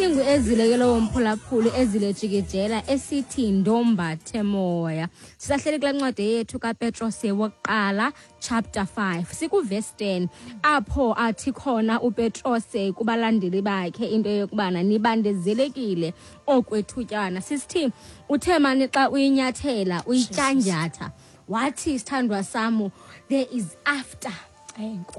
Isingu ezile ke lowo mphulaphuli ezile jikijela esithi ndombathe moya. Sisahleli kula ncwadi yethu kaPetrose wokuqala chapter 5 sikuvesi 10 apho athi khona uPetrose kubalandeli bakhe into yokubana nibandezelekile okwethutyana. Sisithi uthe mani xa uyinyathela uyityanjatha wathi sithandwa samu there is after.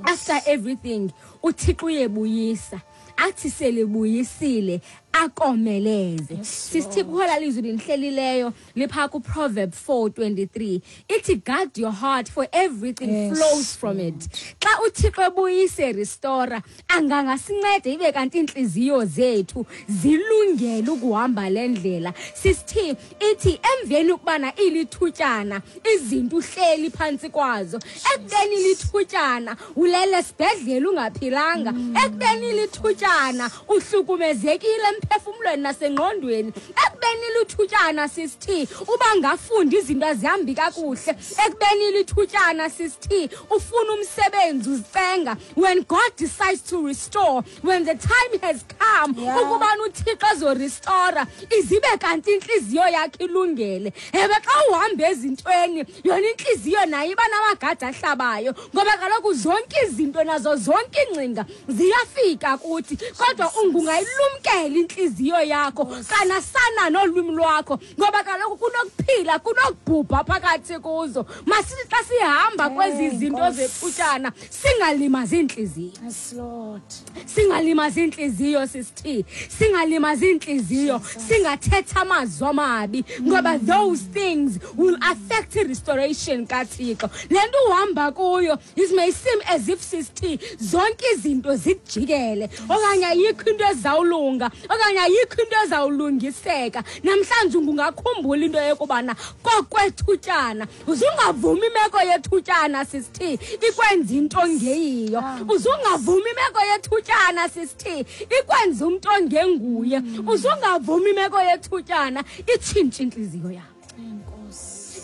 After everything uThixo uyebuyisa athi selibuyisile akomeleze. Sisithi kukho lizwi linihlelileyo lipha kuProverb 4:23 ithi guard your heart for everything flows from it. Xa uThixo ebuyise restore angangasinceda ibe kanti inhliziyo zethu zilungele ukuhamba le ndlela. Sisithi ithi emveni ukubana ilithutyana izinto uhleli phantsi kwazo, ekubeni lithutyana ulele esibhedlele ungaphilanga, ekubeni lithutyana uhlukumezekile emphefumlweni nasengqondweni, ekubeni lithutyana sisithi uba ngafundi izinto azihambi kakuhle, ekubeni lithutyana sisithi ufuna umsebenzi uzicenga. When God decides to restore, when the time has come ukubana uThixo azorestore izibe kanti intliziyo yakhe ilungele. Ewe, xa uhamba ezintweni yona intliziyo nayo iba namagada ahlabayo, ngoba kaloku zonke izinto nazo zonke iingcinga ziyafika kuthi, kodwa ungungayilumkela intliziyo yakho kanasana nolwimi lwakho, ngoba kaloku kunokuphila kunokubhubha phakathi kuzo. Masithi xa sihamba kwezi zinto zethutyana singalimazi iintliziyo. Yes, Lord. Singalimazi iintliziyo sisithi, singalimazi iintliziyo, singathetha amazwi amabi, ngoba those things will affect restoration kaThixo. Le nto uhamba kuyo it may seem as if sisithi zonke izinto zikujikele, okanye ayikho into ezawulunga, okanye ayikho into ezawulungiseka. Namhlanje ungakhumbula into yokubana kokwethutyana, uzungavumi imeko yethutyana sisithi ikwenza into ongeyiyo, uzungavumi imeko yethutyana sisithi ikwenza umntu ongenguye, uzungavumi imeko yethutyana itshintshe intliziyo yakho.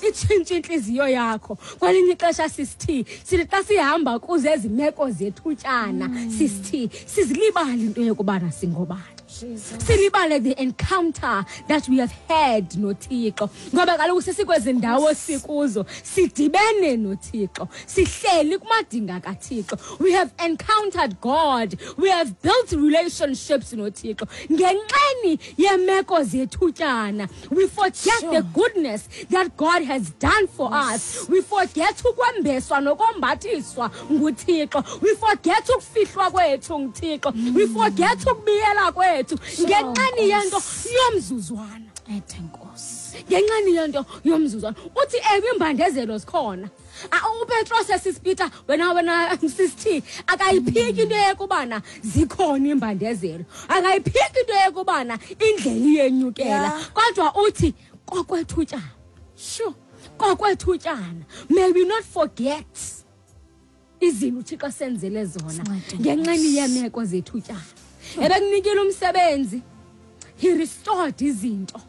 Itshintshe intliziyo yakho. Kwelinye ixesha sisithi sithi xa sihamba kuze ezi meko zethutyana sisithi sizilibale into yokubana singobani, silibale the encounter that we have had noThixo, ngoba kaloku sesikwezi ndawo sikuzo sidibene noThixo, sihleli kumadinga kaThixo. We have encountered God, we have built relationships noThixo. Ngenxeni yemeko zethutyana we forget the goodness that God has done for us. We forget ukwembeswa nokombathiswa nguThixo. We forget ukufihlwa kwethu nguThixo. We forget ukubiyela kwethu ngenxeni yento yomzuzwana. Ngenxeni yento yomzuzwana. Uthi ewe imbandezelo zikhona. uPetros sisiPeter wena sisithi akayiphiki into yokubana zikhona imbandezelo, akayiphiki into yokubana indlela iyenyukela, kodwa uthi kokwethutyana. Sure, kokwethutyana. May we not forget izinto uThixo asenzele zona ngenxeni yeemeko zethutyana. Ebekunikile umsebenzi, he restored izinto.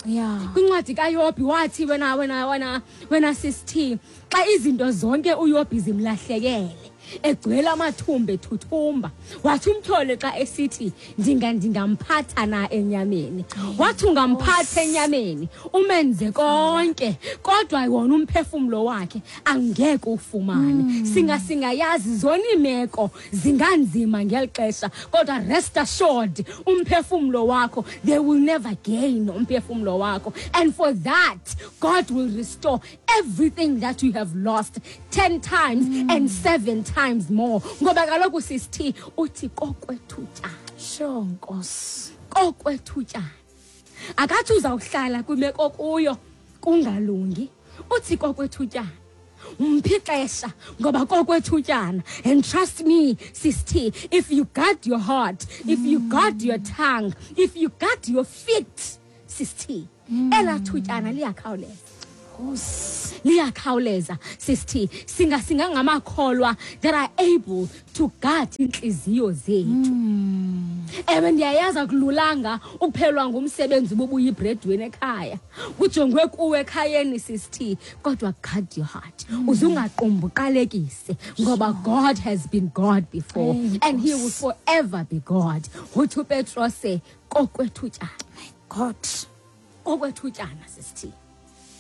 Kwincwadi kaYobhi wathi wena sisithi xa izinto zonke uYobhi zimlahlekele, egcwele amathumba ethuthumba, wathi umtyholi xa esithi ndingamphatha na enyameni, wathi ungamphatha enyameni umenze konke, kodwa wona umphefumlo wakhe angeke ufumane. Singayazi zona iimeko zinganzima ngeli xesha, kodwa rest assured umphefumlo wakho they will never gain umphefumlo wakho, and for that God will restore everything that you have lost 10 times and 7 times more. Ngoba kaloku sisithi uthi kokwethutyana. Sure, Nkosi. Kokwethutyana. Akathi uzawuhlala kwimeko kuyo kungalungi, uthi kokwethutyana. Umphi ixesha ngoba kokwethutyana. And trust me sisithi, if you guard your heart, if you guard your tongue, if you guard your feet sisithi, elaa thutyana liyakhawuleza. Nkosi. Liyakhawuleza, sisithi singasingangamakholwa that are able to guard iintliziyo zethu. Ewe, ndiyayazi akululanga ukuphelwa ngumsebenzi ububuyibredwini ekhaya, kujongwe kuwe ekhayeni, sisithi, kodwa guard your heart, uze ungaqumbi uqalekise, ngoba God has been God before and he will forever be God. Uthi uPetrose kokwethutyana. God. Kokwethutyana, sisithi.